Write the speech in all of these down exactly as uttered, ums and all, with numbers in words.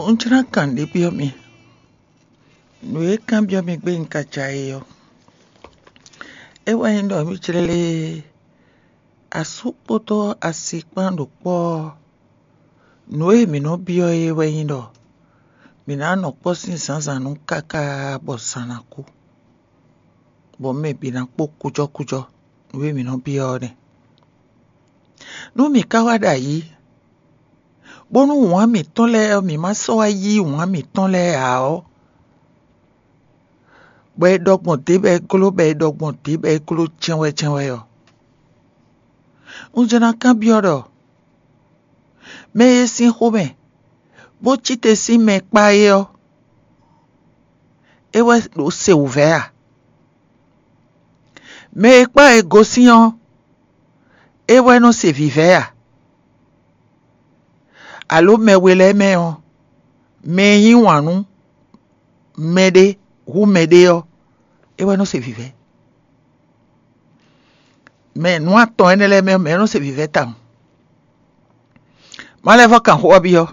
Un jló ná kan nǔɖé byɔ́ mi. Nǔ e kanbyɔ́ mi gbé un ka ja é ɔ́, é wɛ nyí ɖɔ mǐ jlɛ́ lé asú kpódó asi kpán ɖo kpɔ́ ɔ́, nǔ e mǐ nɔ byɔ́ é wɛ nyí ɖɔ mǐ ná nɔ kpɔ́ sín zǎnzǎn nu káká bɔ zǎn ná kú, bɔ mɛ bǐ ná kpó kújɔkújɔ. Nǔ e mǐ nɔ byɔ́ ɔ́ nɛ́. Nú mǐ ka wá ɖo ayǐ, bónú wǎn mǐtɔn lɛ́ɛ ɔ́, mǐ ma sɔ́ wá yí wǎn mǐtɔn lɛ́ɛ ǎ ɔ́, bɔ è ɖɔ gbɔn dě bɔ è gló, bɔ è ɖɔ gbɔn dě bɔ è gló jɛ́nwɛ́jɛ́nwɛ́ ɔ́, un jló ná kanbyɔ́ ɖɔ mɛ e sín xomɛ bó cí te sín mɛ kpá é ɔ́, é wɛ ɖo se wǔvɛ́ a? Mɛ e kpá è gosín ɔ́, é wɛ nɔ se vǐvɛ́ a? Alo mɛ we lɛ́ɛ mɛ ɔ́, mɛ e yí wǎn nú mɛɖé hú mɛɖé ɔ́, é wɛ nɔ se vǐvɛ́? Mɛ nǔ atɔn énɛ́ lɛ́ɛ mɛ ɔ́, mɛ̌ nɔ se vǐvɛ́ tawun? Má lɛ́ vɔ́ kan xó ɔ́ byɔ́.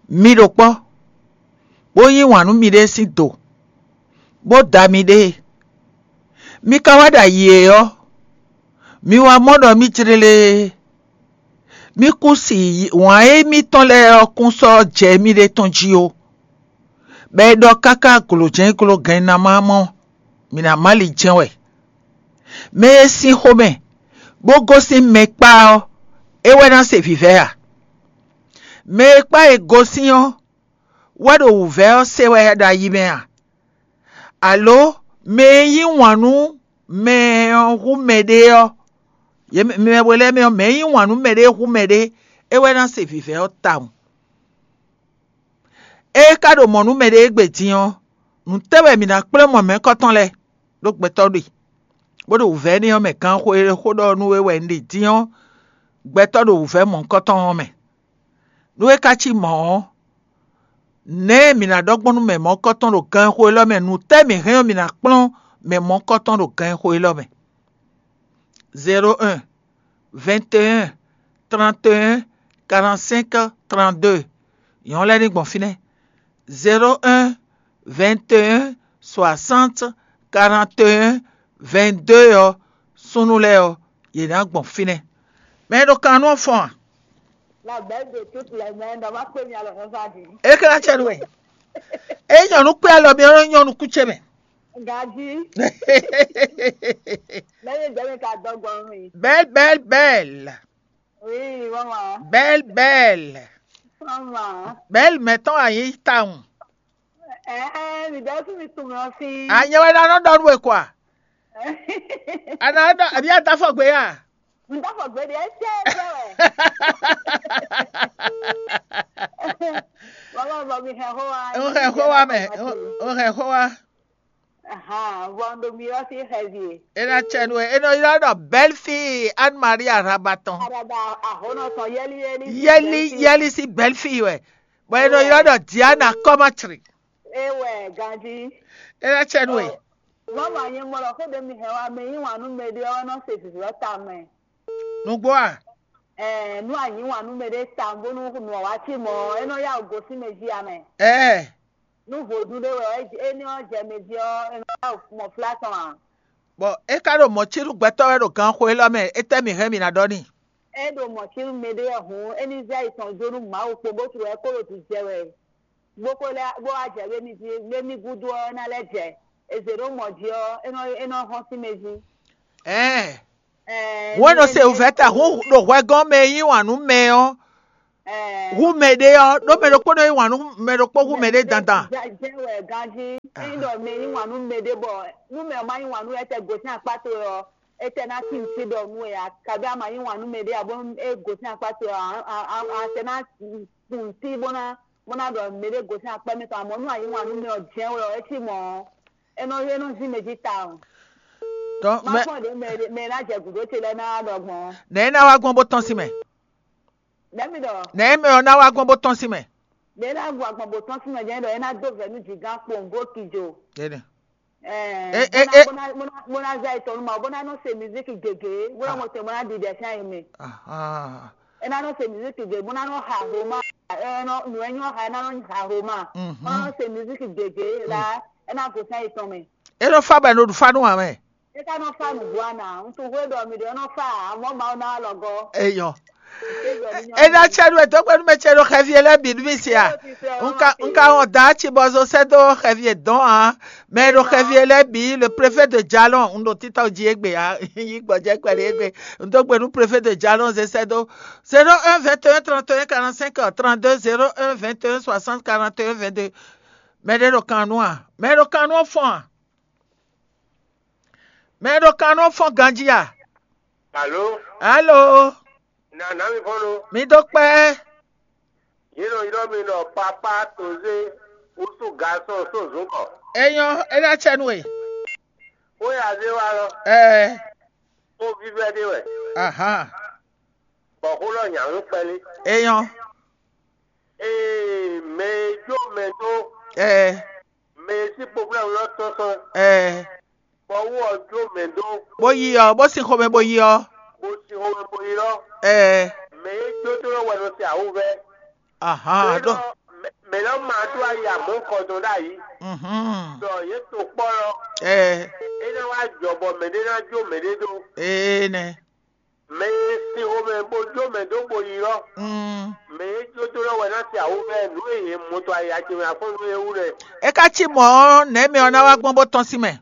Mi ɖo kpɔ́, bó yí wǎn nú miɖée sín do, bó da miɖée. Mi ka wá ɖo ayǐ é ɔ́, mi wá mɔ ɖɔ mì jlélé. Mì kún si wǎn e mitɔn lɛ́ɛ ɔ́ kún sɔ́ jɛ émíɖée tɔn jí ó. Bɔ è ɖɔ káká glǒjɛ́n gló gɛn ná má mɔ, mǐ ná má li jɛ́n wɛ. Mɛ e sín xomɛ, bó gosín mɛ kpá ɔ́, é wɛ ná se vǐvɛ́ a? Mɛ e kpá è gosín ɔ́, wɛ ɖo wǔvɛ́ ɔ́ se wɛ ɖo ayi mɛ a? Alo mɛ e yí wǎn nú mɛ ɔ́ hú mɛɖé ɔ́, yě mɛ we lɛ́ɛ mɛ ɔ́, mɛ e yí wǎn nú mɛɖé hú mɛɖé, é wɛ ná se vǐvɛ́ ɔ́ tawun. Ée é ka ɖo mɔ̌ nú mɛɖé égbé din ɔ́, nǔ tɛ́ wɛ mǐ ná kplɔ́n mɔ mɛ̌kɔ́tɔn lɛ́ɛ ɖó gbɛtɔ́ ɖe, bó ɖo wǔvɛ́ énɛ́ ɔ́ mɛ gán xó e xó ɖɔ nú we wɛ un ɖe din ɔ́, gbɛtɔ́ ɖo wǔvɛ́ mɔ̌hunkɔtɔn ɔ́ mɛ. Nú é ka cí mɔ̌ ɔ́, nɛ̌ mǐ ná ɖɔ gbɔn nú mɛ mɔ̌hunkɔtɔn ɖo ganxixo élɔ́ mɛ? Nǔ tɛ́ mǐ hɛn ɔ́, mǐ ná kplɔ́n mɛ mɔ̌hunkɔtɔn ɖo ganxixo élɔ́ mɛ? Zéro un, vingt et un, trente et un, quarante-cinq, trente-deux. Nyɔ̌nu lɛ́ɛ ní gbɔn fínɛ́. Zéro un, vingt et un, soixante, quarante et un, vingt-deux ɔ́, súnnu lɛ́ɛ ɔ́, yě ná gbɔn fínɛ́. Mɛ e ɖo kan nú ɔ́ fɔ́n a? La belle de toutes les mères, dans ma première le revanche. É ka ná cɛ nú we. É nyɔ̌nu kpé alɔ mi ɔ́, nyɔ́nu kú ce mɛ. Gadi. Lẹ́yìn ìgbẹ́ mi ka dọ́gbọ́n mi. Belle, belle, belle. Oui, maman. Belle, belle. Maman. Belle mɛtɔn a nyí tawun. Ɛ ɛ, mi dɔ fún mi tún mi ɔ́ sí. Anyɛ wɛ ná nɔ ɖɔ nú we kɔa? A ná ɖɔ àbí a dá fɔ gbé ya? N dá fɔ gbé ɖe, ɛ tẹ́ ɛ tẹ́ wɛ. Maman, bɔ mi hɛn xó wa. N hɛn xó wa mɛ. N hɛn xó wa. Ahan, vɔ un ɖo mi ɔ́ sín xɛvi e. É ná cɛ nú we. É nɔ ylɔ́ ɖɔ belle fille Anne Marie Arabatɔn. Araba ahonɔ tɔn yɛli yɛli. Yɛli yɛli sín belle fille wɛ. Bɔ é nɔ ylɔ́ ɖɔ Diana Kɔmatri. É wɛ ganjí. É ná cɛ nú we. Mama nyɛ mɔ ɖɔ xó ɖé mi hɛn wá mɛ yí wǎn nú mɛ ɖé ɔ́ nɔ se vǐvlɔ́ ta mɛ. Nǔgbó a? Ɛɛ, nú a nyí wǎn nú mɛ ɖé ta bónú nǔ ɔ́ wá cí mɔ̌, é nɔ yá wǔ gosín mɛ jí a mɛ. Ɛɛ. Nú vodún ɖé wɛ é ní ɔ́ jɛ mɛ jí ɔ́, é nɔ yá wǔ mɔ flá tɔn ǎ. Bɔ é ka ɖo mɔ̌ cí nú gbɛtɔ́ wɛ ɖo ganxixo élɔ́ mɛ, étɛ́ mǐ hɛn mǐ ná ɖɔ n'i? É ɖo mɔ̌ cí nú mɛ ɖé wɛ hǔn, é ní zɛ yi tɔn jó nú Mawu kpó bó tlú wɛ kó ɖo jijɛ wɛ. Bó ko lɛ́ bó wá jɛ wémí jí, wémí gúdo ɔ́ é ná lɛ́ jɛ. È zě ɖó mɔ̌ jí ɔ́, é nɔ é nɔ hɔn sín mɛ jí. Ɛɛ. Ɛɛ, Wɛn nɔ se wǔvɛ́ ta hún ɖo hwɛ gɔ́n mɛ e yí wǎn nú mɛ ɔ́, ɛɛ, hu mɛ ɖé ɔ́, ɖó mɛ ɖokpó nɔ yí wǎn nú mɛ ɖokpó hu mɛ ɖé dandan. Jɛ wɛ ganjí. Ényí ɖɔ mɛ yí wǎn nú mɛ ɖé bɔ nú mɛ ɔ́ má yí wǎn nú étɛ́ gosín akpá towe ɔ́, étɛ́ ná tín sí ɖɔ nú we ǎ, kabí a ma yí wǎn nú mɛ ɖé ǎ bónú é gosín akpá towe ɔ́, a a a tɛ ná kun sí bó ná bó ná ɖɔ mɛ ɖé gosín akpá mɛ tɔn, amɔ̌ nú a yí wǎn nú mɛ ɔ́ jɛ́n wɛ ɔ́, é cí mɔ̌ ɔ́, é nɔ é nɔ zín mɛ jí tawun. Tɔn Má mɛ fɔ́n ɖě mɛ mɛ ná jɛ gǔdo ce lɛ́ɛ ná wá ɖɔ gbɔn. Nɛ̌ é ná wá gbɔn bó tɔ́n sín mɛ? Nɛ̌ mi ɖɔ? Nɛ̌ mɛ ɔ́ ná wá gbɔn bó tɔ́n sín mɛ? Ɖě ná gbɔ agbɔn bó tɔ́n sín mɛ jɛ́n ɖɔ é ná dó vɛ̌ nú jǐgán kpowun bó kijo. Énɛ́. Ɛɛ, É- é- é- bó ná bó ná bó ná zá etɔn nú ma bó ná nɔ se mizíki gěgé bó ná mɔ se bó ná ɖiɖɛ sín ayi mɛ. Ahán. É ná nɔ se mizíki gěgé bó ná nɔ ha hloma. Ɛ nɔ nǔ e nyɔ́ ha ɛ ná nɔ nyi ha ho ma. Mhm. Má nɔ se musique gěgé la, ɛ ná go sɛn yětɔn mɛ. É nɔ fa bɔ è nɔ ɖu fá nú ǎ mɛ. É ká nɔ fa nǔgbó ana. Un tunwun hwé ɖɔ mi ɖe nɔ fa, amɔ̌ Mawu ná wá lɔ gɔ́. Eyɔ. É ná tsɛ nú ètò gbɛnú mɛ tsɛ ɖo xɛvi e lɛ́ɛ bǐ nú mì sia. Un ka un ka wɔn dǎ ci bɔ zo sɛ́ dó xɛvi e dɔn ǎ. Mɛ e ɖo xɛvi e lɛ́ɛ bǐ, le préfet de Jalɔn, un ɖo títɔ jí égbé ǎ. Yí gbɔjɛ kpɛɖé égbé. Un dó gbe nú préfet de Jalɔn zé sɛ́ dó. Zéro un vingt et un trente et un quarante cinq trente deux, zéro un vingt et un soixante quarante et un vingt deux. Mɛ ɖé ɖo kan nú a? Mɛ ɖo kan nú ɔ́ fɔ́n a? Mɛ ɖo kan nú ɔ́ fɔ́n ganjí a? Alo, Alo, nana mi fɔ́n lo. Mi dó kpɛ́. Yě nɔ ylɔ́ mi ɖɔ papá tozé, wusu gasɔn só zǔnkɔ. É nyɔ́, é ná tsɛ nú we. Xó e azé wa lɔ, Ɛɛ, xó vívɛ́ ɖé wɛ, ahan, bɔ xó lɔ nyǎ nú kpɛlí. É nyɔ́. Ee, mɛ e jó mɛ dó, Ɛɛ, mɛ e sín poflɛ́nu lɔ tɔ́n tɔn, ɛɛ, bɔ wú ɔ jó mɛ dó, bó yi ɔ, bó sin xomɛ bó yi ɔ. Bó sin xomɛ bó yi lɔ. Ɛɛ, Mɛ e jó dó lɔ wɛ nɔ se awǔvɛ́. Ahan, ɖó. Mɛ lɔ ma dó ayi amɔ̌ kɔdɔn ɖ'ayǐ. Mhm. Ɖɔ yě to kpɔ́ lɔ, Ɛɛ, é ná wá jɔ bɔ mɛɖé ná jó mɛɖé dó. Ee nɛ. Mɛ e sin xomɛ bó jó mɛ dó bo yi lɔ, Mm. Mɛ e jó dó lɔ wɛ ná se awǔvɛ́ nǔ e yě mɔ tɔn ayi acɛ mɛ afɔ́n nú é wú lɛ. É ka cí mɔ̌ ɔ́, nɛ̌ mɛ ɔ́ ná wá gbɔn bó tɔ́n sín mɛ?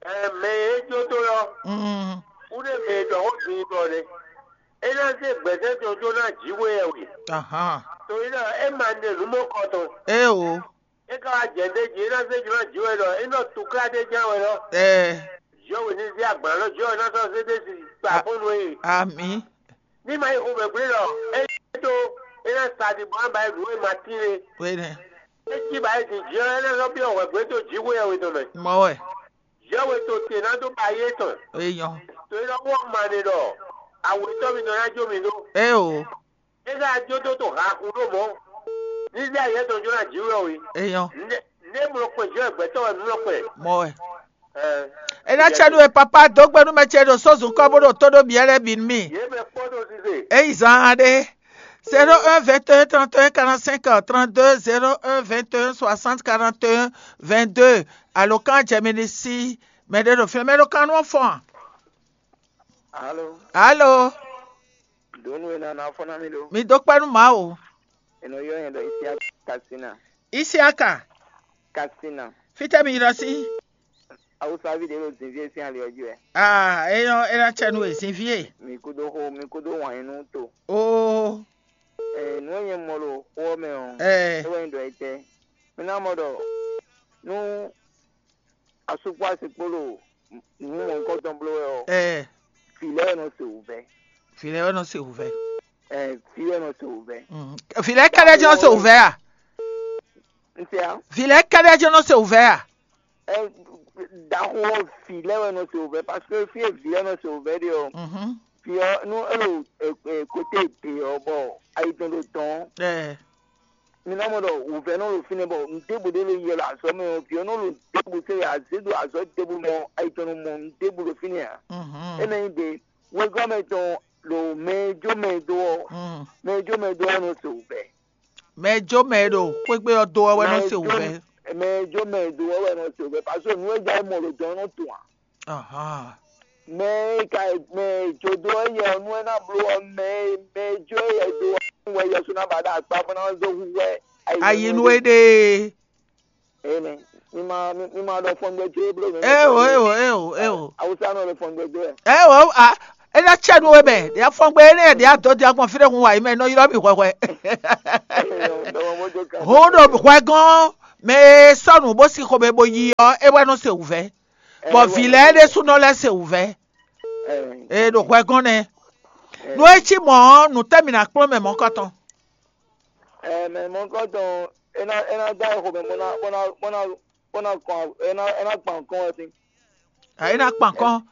Ɛ, mɛ e jó dó lɔ, Mm. Kúɖé mɛ e ɖɔ xó din ɖɔ nɛ. É ná zé gbɛ̌sɛ́ tɔn jó ná jǐ we wɛ we. Ahan. To é ɖɔ é ma nɛ nǔ mɔ kɔ tɔn. Éeǒ. É ka wá jɛ ɖ'é jí, é ná zé jlɔ́ jǐ wɛ ɖɔ é nɔ tuklá ɖé ján wɛ lɔ. Ɛɛ, Jɔwe ní zé agban lɔ jɔ ná sɔ́ zé ɖé si kpa fɔ́n nú ɛ. Amǐ. Ní ma yi xomɛ gblé lɔ, é ɖó é ná sa ɖi bɔ ná ba yi nǔ e ma tín é. Wénɛ. É cí ba yi din jǐ ɔ́, é ná sɔ́ byɔ́ hwɛ̌gbɛ́ dó jǐ xwé ɛ we tɔn mɛ. Mɔ wɛ. Jɔwe to te ná dó ba yé tɔn. Eyɔn. To é nɔ wɔ ma ɖe ɖɔ awetɔ́ mi nɔ ná jó mi ɖó. Ée o. É ná jó dó to haxu ɖó mɔ̌. Ní zé ayɛ tɔn jó ná jǐ wɛ o yi. Eyɔn. Nde nde mlɔ kpɛ jɔ gbɛtɔ wɛ mlɔ kpɛ. Mɔ wɛ. Ɛ. É ná tsɛ nú we papa dó gbe nú mɛ ce ɖo sózun kɔ bó ɖo tó ɖó biɛ lɛ́ɛ bǐ nú mì. Yě mɛ kpɔ ɖo zize. É yi zan aɖé. Zéro un vingt et un trente et un quarante-cinq trente-deux, zéro un vingt et un soixante quarante et un vingt-deux. Alǒkan jɛ mi ɖi sí mɛ ɖé ɖo fínɛ́, mɛ ɖo kan nú ɔ́ fɔ́n a? Alo. Alo. Donu e nana fɔ na mi ɖo. Mi dó kpɛ́ nú Mawu. Eno yɔ yɛn ɖɔ Isiaka Kasina. Isiaka. Kasina. Fítɛ́ mi ylɔ́ sí? Awusavi ɖe ɖo zinvi e sín ali ɔ́ jí wɛ. Aa, é nyɔ́, é ná cɛ nú we, zinvi e. Mi kúdó xó, mi kúdó wǎn yí nú to. Oo. Ee, nǔ e nyɛ mɔ ɖo xó ɔ́ mɛ ɔ́, Ɛɛ. É wɛ nyí ɖɔ etɛ́. Mi ná mɔ ɖɔ nú asú kpó asi kpó ɖo nǔ mɔ̌hunkɔtɔn bló wɛ ɔ́, Ɛɛ. Vǐ lɛ́ɛ nɔ se wǔvɛ́. Vǐ lɛ́ɛ wɛ nɔ se wǔvɛ́. Ɛ, vǐ lɛ́ɛ nɔ se wǔvɛ́. Mm. Vǐ lɛ́ɛ kɛ́ɖɛ́ jɛ́n nɔ se wǔvɛ́ a? Un se ǎ. Vǐ lɛ́ɛ kɛ́ɖɛ́ jɛ́n nɔ se wǔvɛ́ a? Ɛ, ɖaxó ɔ́, vǐ lɛ́ɛ wɛ nɔ se wǔvɛ́, parce que fí e vǐ lɛ́ɛ nɔ se wǔvɛ́ ɖe ɔ́, Mhm. Vǐ ɔ́, nú é ɖo e, e, kote ɖě ɔ́, bɔ ayi tɔn ɖo dɔn ɔ́, Ɛɛ. Mi ná mɔ ɖɔ wǔvɛ́ nɔ ɖo fínɛ́, bɔ nǔɖébu ɖé ɖo yɛ ɖo azɔ̌ mɛ ɔ́, vǐ ɔ́ nɔ ɖo nǔɖébu se wɛ azě ɖo azɔ̌ ɖěbǔ mɛ ɔ́, ayi tɔn nɔ mɔ nǔɖébu ɖo fínɛ́ ǎ. Mhm. É ná nyí ɖě wegɔ́ mɛ tɔn ɖo mɛ e jó mɛ e dó ɔ́, Mm. Mɛ e jó mɛ e dó ɔ́ nɔ se wǔvɛ́. Mɛ e jó mɛ e ɖo xwé gbe ɔ́ dó ɔ́ wɛ nɔ se wǔvɛ́. Mɛ e jó mɛ e dó ɔ́ wɛ nɔ se wǔvɛ́, parce que nǔ e ja é mɔ ɖo dɔn ɔ́ nɔ tun ǎ. Ahán. Mɛ e ka mɛ e jó dó éyɛ ɔ́ nú é ná bló ɔ́, mɛ e mɛ e jó éyɛ dó ɔ́ nú wɛ Yɛsu ná ba ɖo akpá bó ná zé hu wɛ Ayi nú éɖée. Énɛ́. Mi ma mi mi ma ɖɔ fɔngbɛ jó é bló mɛ. Eo, eo, eo, eo. Awusa nɔ ɖo fɔngbɛ jó wɛ. Eo, a, é ná cɛ nú we mɛ. Ɖe afɔngbɛ énɛ́ ɖe adó ɖe agbɔn fí ɖé hun wa yi mɛ nɔ ylɔ́ mì hwɛhwɛ. Dɔmɔ bó jó kan. Hun ɖo hwɛ gɔ́n mɛ e sɔ́ nǔ bó sin xomɛ bó yi ɔ́, é wɛ nɔ se wǔvɛ́. Bɔ vǐ lɛ́ɛ ɖésúnɔ lɛ́ se wǔvɛ́. Ee, ɖo hwɛ gɔ́n nɛ́. Nú é cí mɔ̌ ɔ́, nǔ tɛ́ mì ná kplɔ́n mɛ mɔ̌kɔtɔn? Ɛ, mɛ mɔ̌kɔtɔn, é ná é ná dó ayixo mɛ bó ná bó ná bó ná bó ná kɔn é ná é ná kpan kɔn wɛ sín. Ɛ, é ná kpan kɔn.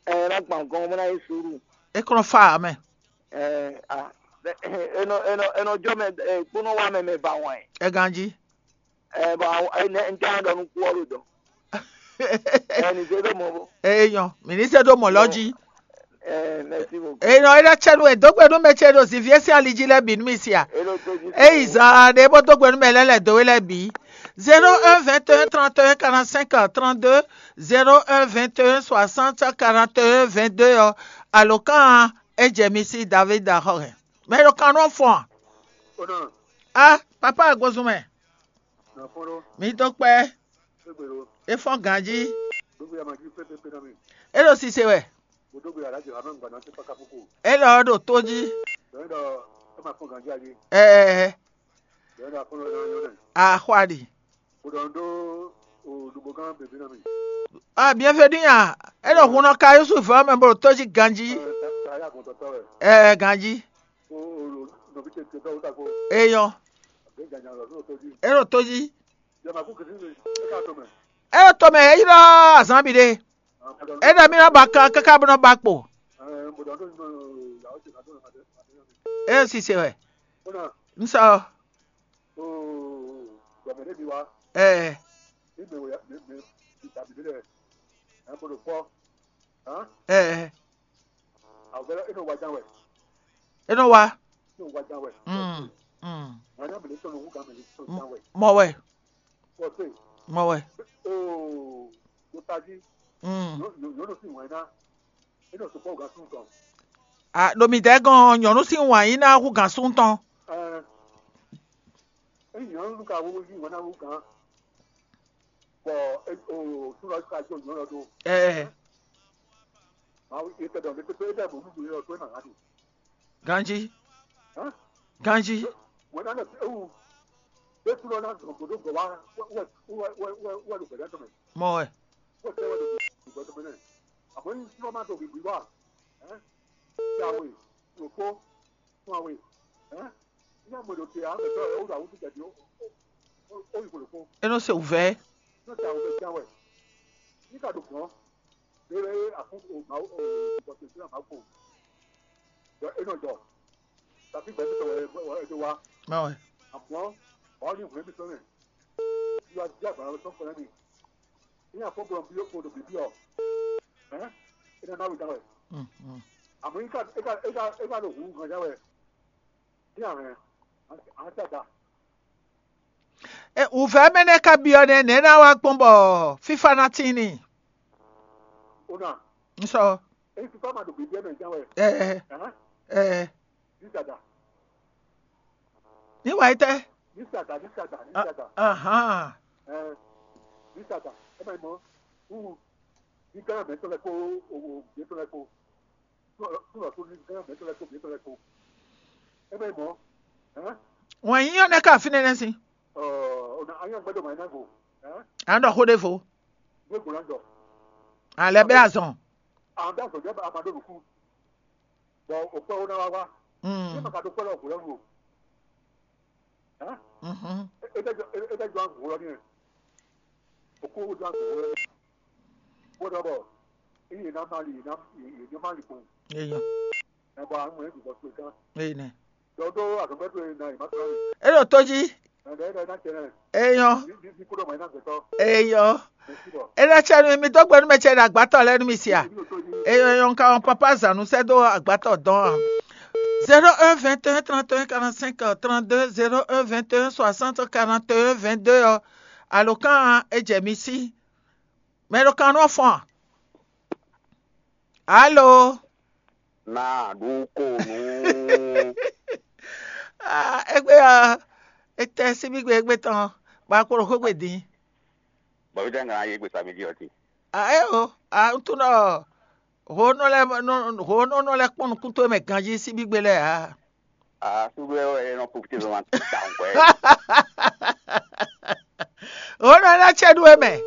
Ɛ, é ná kpan kɔn bó ná yí suúlu. É kplɔ́n fa ǎ mɛ. Ɛ, a, é nɔ é nɔ é nɔ jɔ mɛ ɛ kpónɔ wá mɛ mɛ ba wɛn. É ganjí. Ɛ, bɔ awo ɛ nɛ n tɛ ɖɔ nukú ɔ́ ɖo dɔn. Ɛ, ní zé ɖo mɔ bó. Eye nyɔ, mi ní sɛ́ dó mɔ̌ lɔ jí. Eh, merci beaucoup. Eye nɔ é ɖɔ cɛ nú e dó gbe nú mɛ ce ɖo ziviɛ sín ali jí lɛ́ɛ bǐ nú mi sia. Eye zan ɖe bó dó gbe nú mɛ lɛ́ɛ lɛ̌ dó we lɛ́ɛ bǐ. Zéro un vingt et un trente et un quarante-cinq trente-deux, zéro un vingt et un soixante quarante et un vingt-deux ɔ́, alǒkan ɔ́, é jɛ mi sí David axɔ́ hɛn. Mɛ ɖo kan nɔ fɔn a? Ona, Ah, papa agbozun mɛ, na fɔn ɖo, mi dó kpɛ, gbegbe ɖo, é fɔn ganjí. Gbogbo ya ma jí pépépé na mi. É ɖo sise wɛ. Mo dó gbe alájẹ ha mɛ gbana tɛ paka foko. É lɔ ɖo tó jí. Dɔn dɔ, ɛ ma fɔn ganjí ayi. Ɛɛ, Dɔn dɔ afɔn lɔ na yɔ nɛ. Axwa ɖi. Mo dɔn dó o dugbo gán bèbí na mi. Ah, bienvenue a. É ɖo hun nɔ ka Yusuf ɔ́ mɛ bó ɖo tó jí ganjí. Ɛ, ta ya gbɔn tɔtɔ wɛ. Ɛɛ, ganjí. O o nɔbi tɛ tɛ dɔw ta ko. Eyɔn. Abe ganya lɔ n'o tó jí. É ɖo tó jí. Yɛ ma kú kìsí mi. Ɛ ká tó mɛ. É ɖo tó mɛ, é ylɔ́ azǎn bǐ ɖe. Ah, mo dɔn É ɖɔ mí nɔ ba kan káká bó nɔ ba kpo. Ɛ, mo dɔn dó nínú ìyàwó ṣe kàdó nà dé. É ɖo sise wɛ. Ó nà. Ń sɔ. Oo, gbɔmɛ ɖé mi wá. Ɛɛ. Ní mi wòye mi mi mi tàbí dé dɛ. Ɛ mo ɖo kpɔ. Hàn. Ɛɛ. Àwọn bɛlɛ é nɔ wá ján wɛ. É nɔ wá. É nɔ wá ján wɛ. Mm. Mm. Wọn yà mí lè tɔnu wú gàmì lè tɔnu ján wɛ. Mɔ wɛ. Wɔ pé. Mɔ wɛ. Oo, mo tají. Mm. Yóò yóò yóò lọ sí ìwọ̀n iná. É nɔ sopɔ ògá sún tɔn. A ɖo mi dɛ gɔn nyɔnu sín wǎn yí ná hú gǎn sún tɔn. Ɛ, é nyɔnu ka wó yí wọn ná wú gán. Bɔ é o súnlọ ka jó nyɔnu lɔ dó. Ɛ Màá wí é tẹ̀dọ̀ mi pépé é dẹ̀ bò nínú yọ tó é nà ŋá dùn. Ganjí. Hàn? Ganjí. Wọn ná lọ sí ewu. Bẹ́ẹ̀ súnlọ ná dùn kò dó gbọ̀ wá wẹ́ wẹ́ wẹ́ wẹ́ wẹ́ ló gbẹ̀dẹ́ tó mẹ́. Mɔ wɛ. Wẹ́ tẹ́ wẹ́ ló gbẹ̀dẹ́ tó mẹ́ náà. Àmọ́ yín súnlọ má tó gbìgbì wá. Ẹ́? Ṣé àwẹ̀? Òpó? Fún àwẹ̀? Ẹ́? Ní àmọ́ ìdòtí àwọn ẹ̀tọ́ ẹ̀ ó rà wúdú jẹ̀dí ó ó ó ó yìí kò lè kó. É nɔ se wǔvɛ́. Ní ọ̀sẹ̀ àwọn ọ̀sẹ̀ jáwẹ̀. Ní kàdó gbọ́n. Lórí àkókò màá ó ó bọ̀tẹ̀ sí àmà kò. Jọ é nọ jọ. Tàbí gbẹ̀mí sọ̀rọ̀ ẹ̀ ẹ̀ ẹ̀ wá. Má wẹ̀. Àmọ́ ọ̀ ní ìwé mi sọ̀rọ̀. Ìwà jíjà gbàgbọ́ sọ̀kọ̀ lẹ́nu. Ní àkókò bí ó kò lò bíbí ọ̀. Ẹ́? Iná náà wí dáwẹ̀. Mm, mm. Àmọ́ yíká yíká yíká yíká lò hùwù gan jáwẹ̀. Ní àrẹ̀. Àwọn tí a dà. E wǔvɛ́ mɛ nɛ́ ka byɔ́ nɛ́ nɛ̌ ná wá gbɔn bɔ fífá ná tín n'i? Ó nà. Ń sɔ. Èyí ti fá ma ɖo gbèdé mɛ ján wɛ. Ɛ Hàn? Ɛ Ní dàda. Ní wàá yi tẹ́. Ní dàda ní dàda ní dàda. Ahán. Ɛ Ní dàda. Ẹ máa mọ. Wúwo. Ní gánà mẹ́tọ́ lẹ kó owó gbé tó lẹ kó. Tún lọ tún ní gánà mẹ́tọ́ lẹ kó gbé tó lẹ kó. Ẹ máa mọ. Hàn? Wọ́n yín yóò nẹ́ ká fínɛ́ nẹ́ sí. Ɔ Ọ̀nà ayé ọ̀gbẹ́dọ̀ máa ń nágò. Hàn? À ń dọ̀ kó dé fo. Gbégbó náà jọ. Àlẹ́ bẹ́ àzọ̀n. Àwọn bí àgbọ̀jọ́ bá a máa dọ̀nù kú. Bọ̀ òpẹ́ ó náà wá wá. Ní Mm. màkà tó pẹ́ lọ kò lọ́nu o. Hàn? Mhm. Ẹ ẹ jọ ẹ ẹ jọ àgùn wúrọ́ ní ẹ̀. Òkú ó jọ àgùn wúrọ́ ní ẹ̀. Bó dọ̀ bọ̀. Iye náà máa lè iná iye náà máa lè kún. Eyɔn. Ẹ bọ̀ àwọn ẹ̀ dùbọ̀ pé kán. Eyinɛ. Dɔdɔ agbɛtɔ yɛ na yi ma tɔn. Eɖo tó jí. Ɛdɛ ɛdɛ na tɛnɛ. Eyɔn. Bi bi bi kuɖɔ ma yi na gbɛtɔ. Eyɔn. Mɛsi bɔ. Eɖe tsɛ nu mi dó gbe nú mɛ tsɛ ɖe agbatɔ lɛ nú mi sia. Bi o to jí. Eyɔn yɔn ka wɔn papa zanu sɛ dó agbatɔ dɔn a. Zéro un vingt et un trente et un quarante-cinq trente-deux, zéro un vingt et un soixante quarante et un vingt-deux ɔ. Alo kan e jɛ mi sí. Mɛ ɖo kan nɔ fɔn. Alo. Na ɖu ko nú. Ah, egbe ɔ, etɛ síbígbe egbe tɔn, ba kplɔ́ xwégbe dín. Bɔbí jẹ́ nǹkan ayé gbèsè àmì díẹ̀ ọtí. Ah, ẹ o, ah, n tún nɔ, ho nɔ lɛ, ho nɔ nɔ lɛ kpɔn nukún tó mɛ ganjí síbígbe lɛ, ah. Ah, súgbé ẹ nɔ profité vraiment ti ta nǹkan ẹ. Ho nɔ lɛ tsɛ ɖu eme.